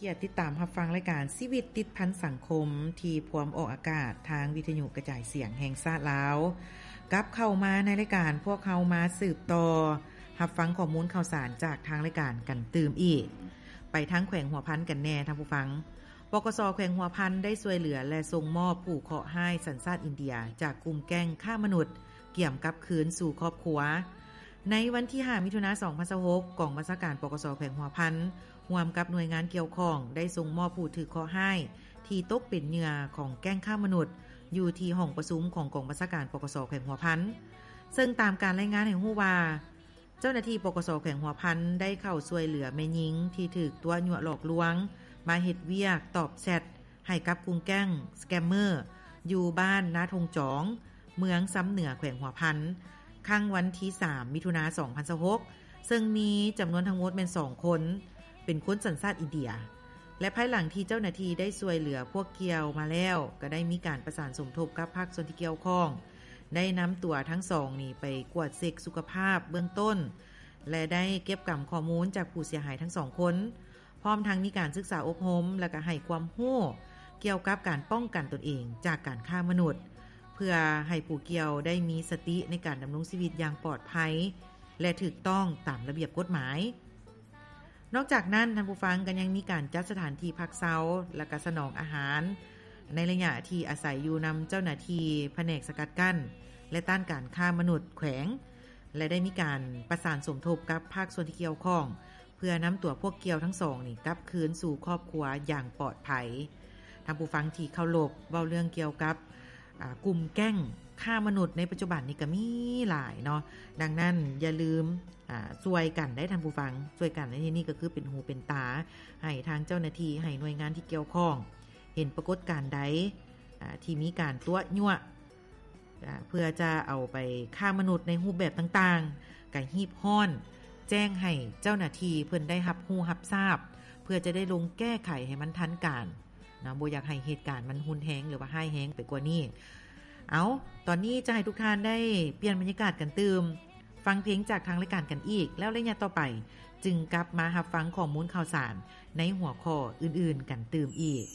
ກຽດຕິດຕາມຮັບຟັງລາຍການຊີວິດຕິດພັນສັງຄົມ ທີ່ພວມອອກອາກາດທາງວິທະຍຸກະຈາຍສຽງແຫ່ງຊາດລາວ. ກັບເຂົ້າມາໃນລາຍການ, ພວກເຮົາມາສືບຕໍ່ຮັບຟັງຂໍ້ມູນຂ່າວສານຈາກທາງລາຍການກັນຕື່ມອີກ. ໄປທາງແຂວງຫົວພັນກັນແດ່ທ່ານຜູ້ຟັງ. ປກສ ແຂວງຫົວພັນໄດ້ຊ່ວຍເຫຼືອ ແລະ ສົ່ງມອບຜູ້ເຄາະຮ້າຍສັນຊາດອິນເດຍ ຈາກກຸ່ມແກ້ງຄ້າມະນຸດ ກຽມກັບຄືນສູ່ຄອບຄົວ. ໃນວັນທີຫ້າ ມິຖຸນາ ສອງພັນຊາວຫົກ ກອງບັນຊາການ ປກສ ແຂວງຫົວພັນ ຮ່ວມກັບໜ່ວຍງານກ່ຽວຂ້ອງ ໄດ້ສົ່ງມອບຜູ້ຖືກເຄາະຮ້າຍ ທີ່ຕົກເປັນເຫຍື່ອຂອງແກ້ງຄ້າມະນຸດ ຢູ່ທີ່ຫ້ອງປະຊຸມຂອງກອງບັນຊາການ ປກສ ແຂວງຫົວພັນ. ເຊິ່ງຕາມການລາຍງານໃຫ້ຮູ້ວ່າ, ເຈົ້າໜ້າທີ່ ປກສ ແຂວງຫົວພັນ ໄດ້ເຂົ້າຊ່ວຍເຫຼືອແມ່ຍິງທີ່ຖືກຕົວະຍົວະຫຼອກລວງ ມາເຮັດວຽກຕອບແຊັດໃຫ້ກັບກຸ່ມແກ້ງສະແກມເມີ ຢູ່ບ້ານນາທົ່ງຈອງ ເມືອງຊຳເໜືອ ແຂວງຫົວພັນ ຄັ້ງວັນທີສາມ ມິຖຸນາ ສອງພັນຊາວຫົກ ເຊິ່ງມີຈຳນວນທັງໝົດແມ່ນສອງຄົນ ເປັນຄົນສັນຊາດອິນເດຍ ແລະ ພາຍຫຼັງທີ່ເຈົ້າໜ້າທີ່ໄດ້ຊ່ວຍເຫຼືອພວກກ່ຽວມາແລ້ວ, ກໍໄດ້ມີການປະສານສົມທົບກັບພາກສ່ວນທີ່ກ່ຽວຂ້ອງ, ໄດ້ນຳຕົວທັງສອງນີ້ໄປກວດເຊັກສຸຂະພາບເບື້ອງຕົ້ນ ແລະ ໄດ້ເກັບກຳຂໍ້ມູນຈາກຜູ້ເສຍຫາຍທັງສອງຄົນ, ພ້ອມທັງມີການສຶກສາອົບຮົມ ແລະ ກໍໃຫ້ຄວາມຮູ້ກ່ຽວກັບການປ້ອງກັນຕົນເອງຈາກການຄ້າມະນຸດ, ເພື່ອໃຫ້ຜູ້ກ່ຽວໄດ້ມີສະຕິໃນການດຳລົງຊີວິດຢ່າງປອດໄພ ແລະ ຖືກຕ້ອງຕາມລະບຽບກົດໝາຍ. ນອກຈາກນັ້ນ, ທ່ານຜູ້ຟັງ, ກໍຍັງມີການຈັດສະຖານທີ່ພັກເຊົາ ແລະ ກະສະໜອງອາຫານ ໃນໄລຍະທີ່ອາໄສຢູ່ນຳເຈົ້າໜ້າທີ່ພະແນກສະກັດກັ້ນ ແລະ ຕ້ານການຄ້າມະນຸດແຂວງ ແລະ ໄດ້ມີການປະສານສົມທົບກັບພາກສ່ວນທີ່ກ່ຽວຂ້ອງ ເພື່ອນຳຕົວພວກກ່ຽວທັງສອງນີ້ກັບຄືນສູ່ຄອບຄົວຢ່າງປອດໄພ. ທ່ານຜູ້ຟັງທີ່ເຄົາລົບ, ເວົ້າເລື່ອງກ່ຽວກັບ ອາ ກຸ່ມແກ້ງຄ້າມະນຸດໃນປັດຈຸບັນນີ້ກໍມີຫຼາຍເນາະ. ດັ່ງນັ້ນຢ່າລືມ ອາ ຊ່ວຍກັນໄດ້ທ່ານຜູ້ຟັງ, ຊ່ວຍກັນໃນທີ່ນີ້ກໍຄືເປັນຫູເປັນຕາໃຫ້ທາງເຈົ້າໜ້າທີ່, ໃຫ້ໜ່ວຍງານທີ່ກ່ຽວຂ້ອງ ເຫັນປາກົດການໃດ ອາ ທີ່ມີການຕົວະຍົວະ ອາ ເພື່ອຈະເອົາໄປຄ້າມະນຸດໃນຮູບແບບຕ່າງໆ ກໍຮີບຮ້ອນແຈ້ງໃຫ້ເຈົ້າໜ້າທີ່ເພິ່ນໄດ້ຮັບຮູ້ຮັບຊາບ ເພື່ອຈະໄດ້ລົງແກ້ໄຂໃຫ້ມັນທັນການ. ເນາະ, ບໍ່ຢາກໃຫ້ເຫດການມັນຮຸນແຮງ ຫຼືວ່າຮ້າຍແຮງໄປກວ່ານີ້. ເອົາ, ຕອນນີ້ຈະໃຫ້ທຸກທ່ານໄດ້ປ່ຽນບັນຍາກາດກັນຕື່ມ, ຟັງເພງຈາກທາງລາຍການກັນອີກ, ແລ້ວໄລຍະຕໍ່ໄປຈຶ່ງກັບມາຮັບຟັງຂໍ້ມູນຂ່າວສານໃນຫົວຂໍ້ອື່ນໆກັນຕື່ມອີກ.